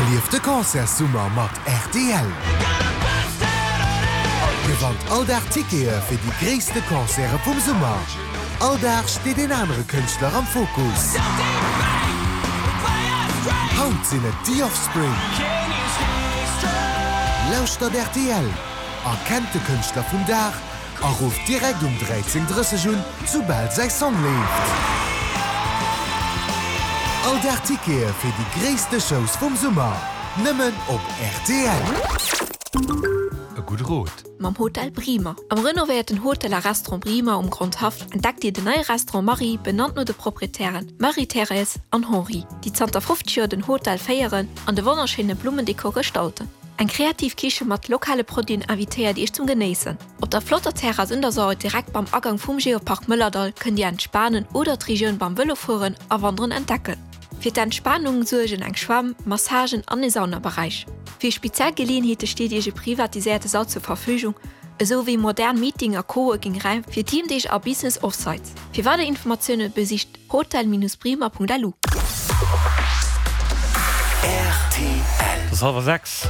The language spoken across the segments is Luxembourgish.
Erlieft de Concertssummer mat rtl! Gewannt all Dag Tickete fir déi gréisste Concerte vum Summer. All Dag steet een anere Kënschtler am Fokus. Haut sinn et The Offspring. Lauschtert rtl, erkennt de Kënschtler vum Dag A rufft direkt um 13:30 un, soubal säi Song leeft. All Dag Tickete fir déi gréisste Shows vum Summer, nëmmen op rtl. E gudde Rot. Mam Hotel Brimer. Am renovéierten Hotel a Restaurant Brimer um Grondhaff entdeckt Dir den neie Restaurant Marie, benannt no de Proprietären Marie-Thérèse an Henri, déi zanter 50 Joer den Hotel féieren an de wonnerschéine Blummendekor gestalten. Eng kreativ Kiche mat lokale Produiten invitéiert Iech zum Genéissen. Op der flotter Terrass un der Saar direkt beim Agang vum Geopark Mëllerdall kënnt Dir entspanen oder d'Regioun beim Vëlofueren a Wanderen entdecken. Fir d'Entspanung suergen eng Schwämm, Massagen an e Saunaberäich. Fir speziell Geleeënheete steet Iech e privatiséierte Sall zur Verfügung, esou wéi modern Meeting a Coworking-Räim fir Teamdeeg a Business Offsites. Fir weider Informatioune besicht hotel-bremer.lu. Et ass hallwer 6.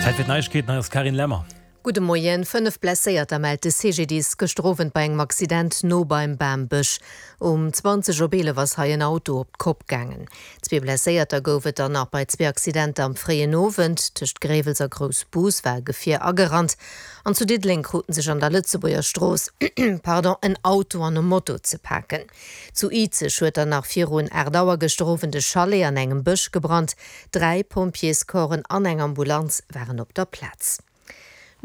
Zäit fir d'Neiegkeeten, hei ass d'Carine Lemmer. Gudde Moien. 5 Blesséierter mellt de CGDIS gëschter Owend bei engem Accident no beim Bambësch. Um 20 op 11 ass hei en Auto op d'Kopp gaangen. Zwee Blesséierter gouf et dann nach bei zwee Accidenter am fréien Owend. Tëscht Gréiwels a Groussbus war e Gefier agerannt An zu Diddeleng kruten sech an der Lëtzebuerger Strooss pardon, en Auto an e Moto ze paken. Zu Izeg huet dann nach virun 8 Auer gëschter Owend e Chalet an engem Bësch gebrannt. Dräi Pompjeescorpsen an eng Ambulanz waren op der Plaz.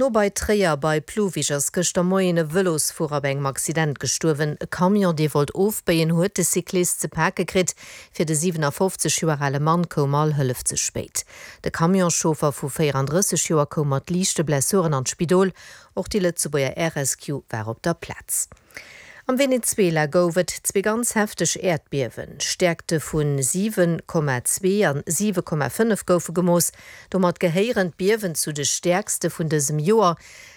No bei Tréier bei Pluwig ass gëschter Moien e Vëlosfuerer bei engem Accident gestuerwen. E Camion, dee wollt ofbéien, huet de Cyclist ze pake kritt. Fir de 57 Joer ale Mann koum all Hëllef ze spéit. De Camionschauffer vu 34 Joer koum mat liichte Blessuren an d'Spidol. Och déi Lëtzebuerger Air Rescue war op der Plaz. Am Venezuela gouf et zwee ganz hefteg Äerdbiewen. Stäerkte vu 7,2 an 7,5 goufe gemooss. Domat gehéieren d'Biewen zu de stäerkste vun dësem Joer.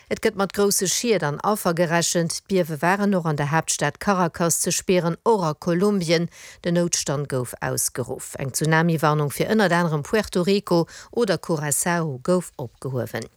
Et gëtt mat grousse Schied an Affer gerechent. D'Biewe waren och an der Haaptstad Caracas ze spieren, och a Kolumbien. Den Noutstand gouf ausgeruff. Eng Tsunami-Warnung fir ënnert anerem Puerto Rico oder Curaçao gouf opgehuewen.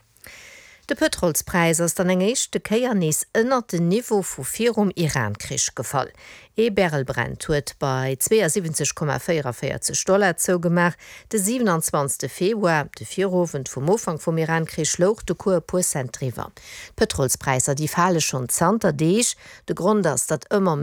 De Pëtrolspräis ass dann eng éischte Kéier nees ënnert den Niveau vu virum Iran-Krich gefall. Ee Barrel Brent huet bei 72,44 Dollar zougemaach. De 27 Februar, de Virowend vum Ufank vum Iran-Krich, louch de Cours e puer Cent driwwer. D'Pëtrolspräisser, déi fale schonn zanter Deeg. De Grond ass, datt ëmmer méi.